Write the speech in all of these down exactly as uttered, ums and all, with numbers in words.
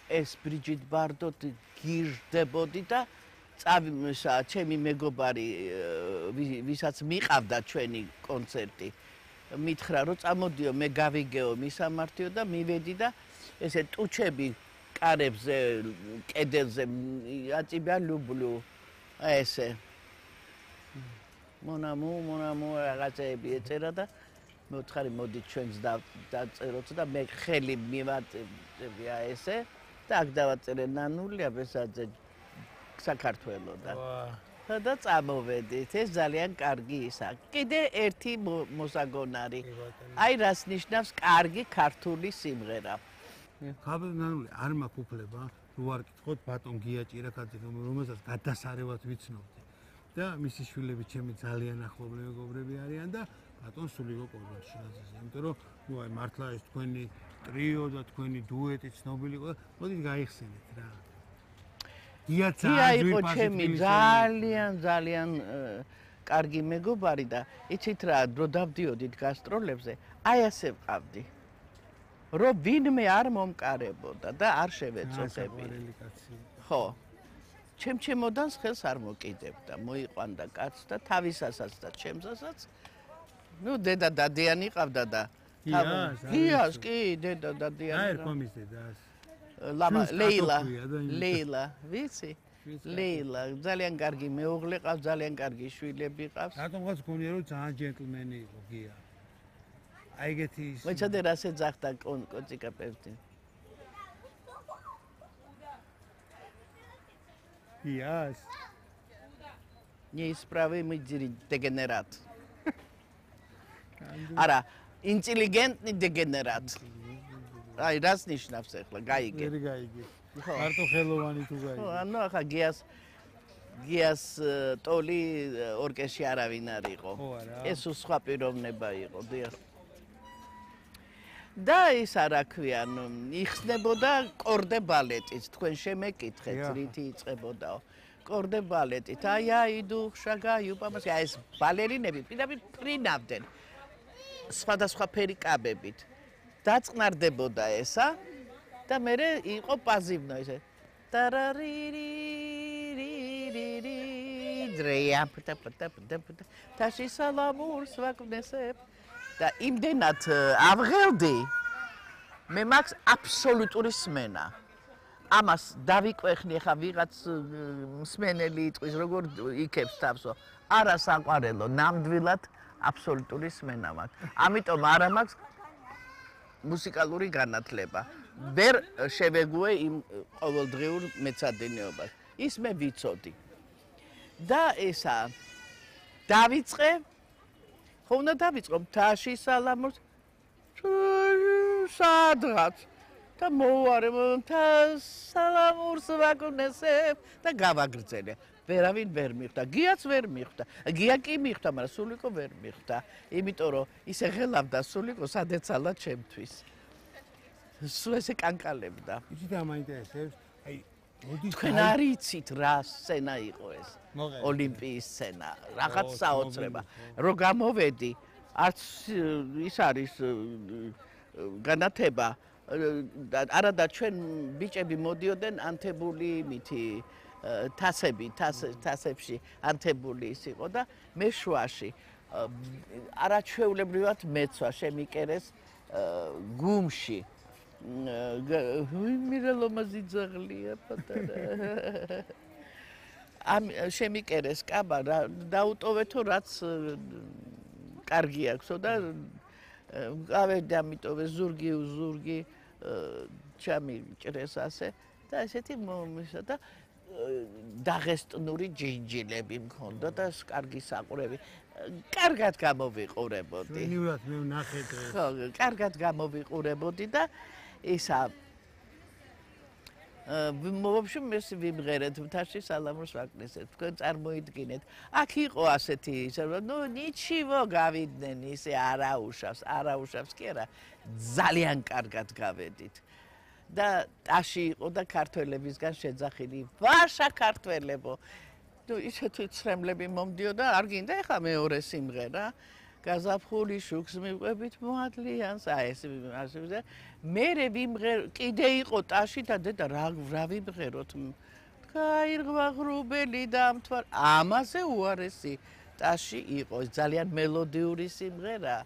ეს ბრიჯიტ ბარდო გირდებოდი და წავისა ჩემი მეგობარი ვისაც მიყავდა ჩვენი კონცერტი მითხრა რომ წამოდიო მე გავიგეო მისამართიო და მივედი და ესე ტუჩები კარებზე კედელზე აწიბა ლუბლუ ესე მონამუ მონამუ რაღაცები ეწერა და მოთხარი მოდი ჩვენს დაწეროთ და მე ხელი მივაწებია ესე და აქ დავაწერე ნანულია ბესაძე საქართველოსა და წამოვედით ეს ძალიან კარგი ისა კიდე ერთი მოსაგონარი აი რას ნიშნავს კარგი ქართული სიმღერა ხაბნანული არ მაქვს უფლება რო არ კითხოთ ბატონ გიაჭირაკაძე რომელსაც გადასარევად ვიცნობდი და მისი შვილები ჩემი ძალიან ახლობლი მეგობრები არიან და ბატონ სულიკო კობაშინაძეს იმიტომ რომ ნუ აი მართლა ეს თქვენი ტრიო და თქვენი დუეტი ცნობილი ყო მოდით გაიხსენეთ რა გიაცა იყო ჩემი ძალიან ძალიან კარგი მეგობარი და იცით რა დრო დავდიოდით გასტროლებზე აი ასე ვყავდი რომ ვინმე არ მომკარებოდა და არ შევეწოხები ხო ჩემ ჩემოდანს ხელს არ მოკიდებდა მოიყვანდა კაცს და თავისასაც და ჩემსასაც ნუ დედა დადიანი ყავდა და გიას კი დედა დადიანი აი კომის დედას ლამა ლეილა ლეილა ვიცი ლეილა ძალიან კარგი მეუღლე ყავს ძალიან კარგი შვილები ყავს რატომღაც გონია რომ ძალიან ჯენტლმენი იყო გია აი ეგეთი ის მოიცადე რას ეძახდა კოციკაპევტი გიას неисправимый дегенерат არა ინტელიგენტი дегенерат აი რას ნიშნავს ახლა გაიგე ვერ გაიგე მარტო ხელოვანი თუ გაიგე ხო ანუ ახლა გიას გიას ტოლი ორკესტრი არავინ არ იყო ეს სხვა პიროვნება იყო დიახ და ის არა ქვიან იხსნებოდა კორდე ბალეტიც თქვენ შემეკითხეთ რითი იწყებოდაო კორდე ბალეტით აი აი დუხშა გაიუპამას აი ეს ბალერინები პირდაპირ ფრინავდნენ სხვადასხვა ფერი კაბებით დაწყნარდებოდა ესა და მე იყო პაზივნო ესე ტარარირირირირირ დრეა პტა პტა პტა პტა თაში სალამურს ვაკვნესებ და იმდენად ავღელდი მე მაქვს აბსოლუტური სმენა ამას დავიკვეხნი ხა ვიღაც მსმენელი იტყვის როგორ იქებს თავსო არა საყვარელო ნამდვილად აბსოლუტური სმენა მაქვს ამიტომ არა მაქვს მუსიკალური განათლება ვერ შევეგუე იმ ყოველდღიურ მეცადინეობას ის მე ვიცოდი და ესა დავიწყე ხო უნდა დავიწყო მთაში სალამურს სადღაც და მოვარე მთას სალამურს ვაკვნესებ და გავაგრძელე ვერავინ ვერ მიხვდა გიაც ვერ მიხვდა გია კი მიხვდა მაგრამ სულიკო ვერ მიხვდა იმიტომ რომ ისე ღელავდა სულიკო სადეცალა ჩემთვის სულ ესე კანკალებდა იცით ამაინტერესებს აი მოდი თქვენ არ იცით რა სცენა იყო ეს ოლიმპიის სცენა რაღაც საოცრება რო გამოვედი არც ის არის განათება არა და ჩვენ ბიჭები მოდიოდნენ ანთებული მითი თასები თასებში ანთებული ის იყო და მე შუაში არაჩვეულებრივად მეცვა შემიკერეს გუმში მირელომაზი ძაღლია პატარა ამ შემიკერეს კაბა დაუტოვეთო რაც კარგი აქვსო და გავედი ამიტოვე ზურგი ზურგი ჩამიჭრეს ასე და ესეთი მომისა და დაღესტნური ჯინჯილები მქონდა და კარგი საყურები კარგად გამოვიყურებოდი ჩვენივრად მე ვნახე დღეს ხო კარგად გამოვიყურებოდი და ისა ვობშემ მე ვიმღერეთ მთაში სალამურს ვაკნესეთ თქვენ წარმოიდგინეთ აქ იყო ასეთი ისე ნუ ნიჩივო გავიდნენ ისე არაუშავს არაუშავს კი არა ძალიან კარგად გავედით და ტაში იყო და ქართველებისგან შეძახილი ვაშა ქართველებო ნუ ისეთი ცრემლები მომდიოდა არ გინდა ეხა მეორე სიმღერა გაზაფხული შუქს მივყვებით მოადლიანს, აი ეს ასე მერე ვიმღერ კიდე იყო ტაში და დედა რა რა ვიმღეროთ გაირღვა ღრუბელი დამთვალ ამაზე უარესი ტაში იყო ძალიან მელოდიური სიმღერა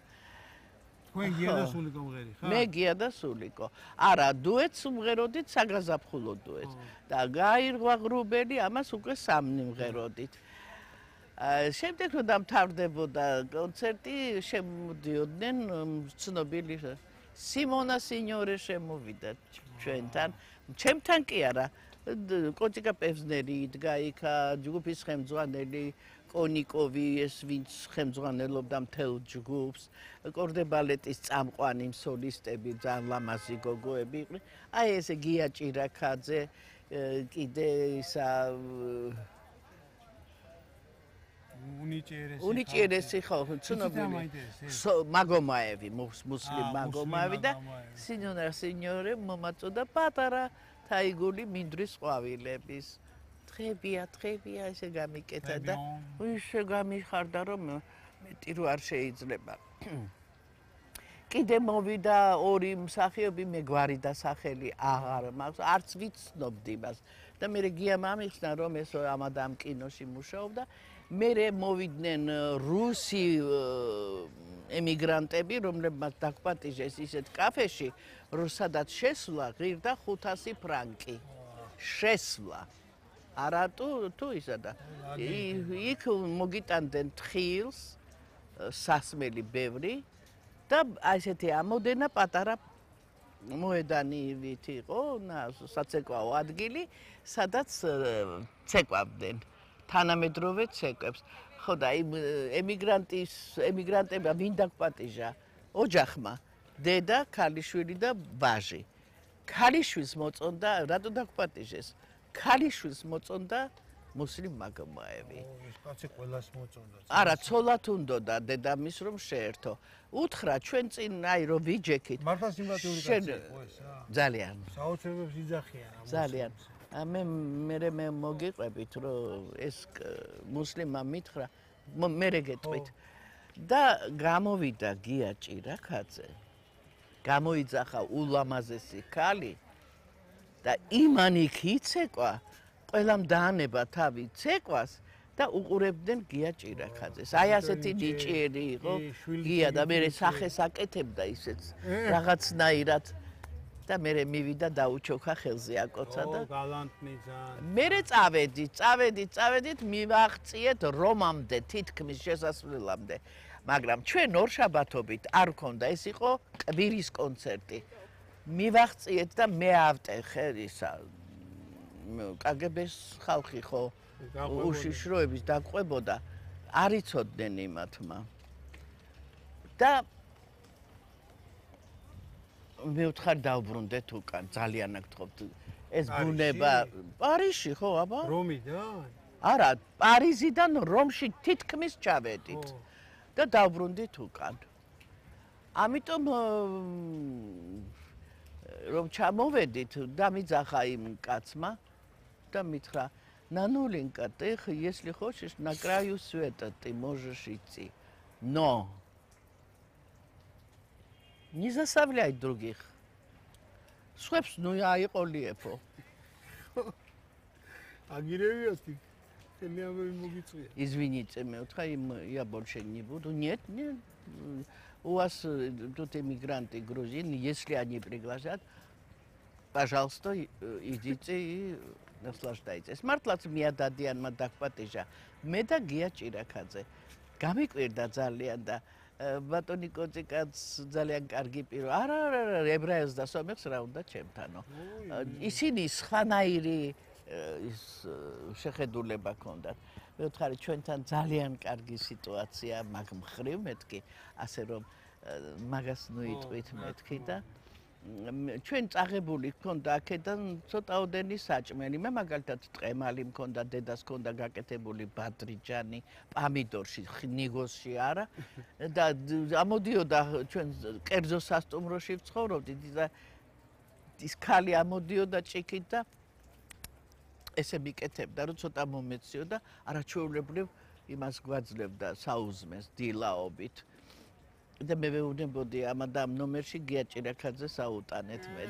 თქვენ გია და სულიკო მღერი ხარ? მე გია და სულიკო. არა, დუეტს ვმღეროდით საგაზაფხულო დუეტს. და გაირღვა ღრუბელი ამას უკვე სამნი ვმღეროდით. შემდეგ რომ დამთავრდებოდა კონცერტი, შემოდიოდნენ ცნობილი სიმონა სინიორე შემოვიდა ჩვენთან. ჩემთან კი არა. კოჭიკა პევზნერი იდგა იქ, ჯგუფის ხელმძღვანელი კონიკოვი ეს ვინც ხელმძღვანელობდა მთელ ჯგუფს, კორდე ბალეტის წამყვანი სოლისტები, ძალიან ლამაზი გოგოები იყვნენ. აი ესე გია ჭირაქაძე, კიდე ისა უნიჭერესი უნიჭერესი ხო, ცნობილი. მაგომაევი, მუსლიმ მაგომაევი და სინიორა სინიორე მომაწოდა პატარა თაიგული მინდვრის ყვავილების. დღებია, დღებია ესე გამიკეთა და ისე გამიხარდა რომ მეტი რო არ შეიძლება. კიდე მოვიდა ორი მსახიობი მე გვარი და სახელი აღარ მაქვს, არც ვიცნობდი მას. და მე გიამ ამიხსნა რომ ეს ამადამ კინოში მუშაობდა. მე მოვიდნენ რუსი ემიგრანტები, რომლებმაც დაგპატიჟეს ისეთ კაფეში, რომ სადაც შესვლა ღირდა ხუთასი ფრანკი. შესვლა არა თუ თუ ისა და იქ მოგიტანდნენ თხილს სასმელი ბევრი და ასეთი ამოდენა პატარა მოედანივით იყო საცეკვაო ადგილი სადაც ცეკვავდნენ თანამედროვე ცეკვებს ხო და იმ ემიგრანტის ემიგრანტებმა ვინ დაგპატიჟა ოჯახმა დედა ქალიშვილი და ვაჟი ქალიშვილს მოწონდა რატო დაგპატიჟეს ქალიშვილს მოწონდა მუსლიმ მაგომაევი. ეს კაცი ყველას მოწონდა. არა, ცოლად უნდოდა დედამის რომ შეერთო. უთხრა ჩვენ წინ აი რომ ვიჯექით. მართლა სიმპათიური კაცი იყო ეს რა. ძალიან. საოცრებებს იძახიან ამ. ძალიან. მე მე მე მოგიყვებით რომ ეს მუსლიმმა მითხრა მე გეტყვით. და გამოვიდა გია ჭირაქაძე. გამოიძახა ულამაზესი ქალი და იმანიქ იცეკვა ყველამ დაანება თავი ცეკვას და უყურებდნენ გია ჭირაქაძეს. აი ასეთი ნიჭიერი იყო გია და მე სახეს აკეთებდა ისეც რაღაცნაირად და მე მივიდა დაუჩოქა ხელზე აკოცა და გალანტნი ძალიან. მე წავედი, წავედი, წავედით მივაღწიეთ რომამდე თითქმის შესასვლელამდე. მაგრამ ჩვენ ორშაბათობით არ ქონდა, ეს იყო კვირის კონცერტი. მივაღწიეთ და მე ავტეხე ისა კგბ-ს ხალხი ხო უშიშროების დაყვებოდა არ იცოდნენ იმათმა და მე ვთხარ დავბრუნდეთ უკან ძალიან აგთხოვთ ეს ბუნება პარიზში ხო აბა რომიდან არა პარიზიდან რომში თითქმის ჩავედით და დავბრუნდით უკან ამიტომ რომ ჩამოვედით დამიძახა იმ კაცმა да митра нануленька ты если хочешь на краю света ты можешь идти но не заставляй других სხვებს ну აიყოლიეფო агиревиости телеамები მოგიწვია извините მე უთხრა им я больше не буду нет нет у вас тут эмигранты грузины если они пригласят пожалуйста идите и наслаждайтесь. მართლაც მიადადიანმა დაგპატიჟა. მე და გია ჭირაქაძე. გამიკვირდა ძალიან და ბატონი კოწიკაც ძალიან კარგი პირო. არა, არა, ებრაელს და სომეხს რა უნდა ჩემთანო. ისინი სხვანაირი ის შეხედულება ჰქონდათ. მე ვთხარი ჩვენთან ძალიან კარგი სიტუაცია მაგ მხრივ მეთქი, ასე რომ მაგას ნუ იტყვით მეთქი და ჩვენ წაღებული გქონდა აქედან ცოტაოდენი საჭმელი. მე მაგალითად ტყემალი მქონდა, დედას მქონდა გაკეთებული ბადრიჯანი, პამიდორში, ნიგოსში არა და ამოდიოდა ჩვენ კერძო სასტუმროში ვცხოვრობდით და ის ქალი ამოდიოდა ჭიქით და ესე მიკეთებდა, რომ ცოტა მომეციო და არაჩვეულებრივ იმას გვაძლევდა საუზმეს დილაობით. და მე ვეუბნებოდი ამ და ამ ნომერში გია ჭირაქაძეს აუტანეთ მე.